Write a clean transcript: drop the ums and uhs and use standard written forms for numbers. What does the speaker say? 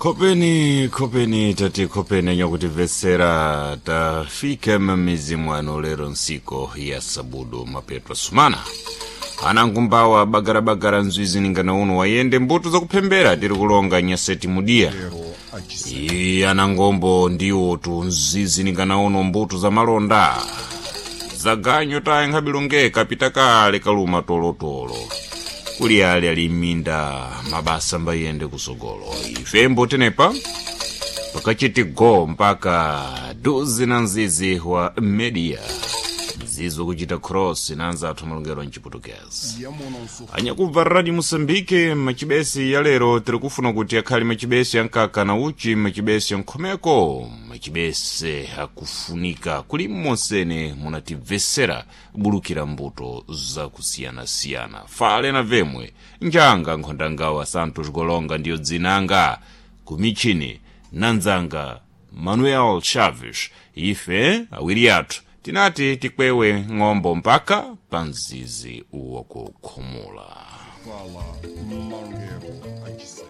Khopeni, khopeni, tati khopeni nyakutimvetsera. Tafika m'mizi mwanu lero nsiku ya sabudu, mapeto sumana anangumbawa bagarabagara nzwizi ningana uno wayende mbuto zakuphembera tiri kulonga nyaseti mudiya. Lero achisanu. Iyi anangombo ndiwo tu nzizi ningana uno mbuto za malonda zaganyo taye nkhabilonge kapita kale kaluma tolotolo kuli ali ali m'minda mabasa mbayende kusogolo. Ife mbotenepa pakachiti go mpaka duzi na nzizi wa media nzizi wakuchita cross na anzathu malongero mchiputukezi. Yamononso. Anyakubva Radio Mosambike, machibesi ya lero tiri kufuna kuti akhale machibesi ankaka na uchi, machibesi ankhomeko, machibesi akufunika kuli mmonsene munatimvesera bulukira mbuto zakusiyanasiyana. Fale na vemwe njanga nkhondangawa Santos Golonga ndiyo dzinanga kumichini nanzanga Manuel Chaves. Ife awiri athu tinati tikwewe ng'ombo mpaka pa mzizi wakukhumula. Vala malongero achisanu.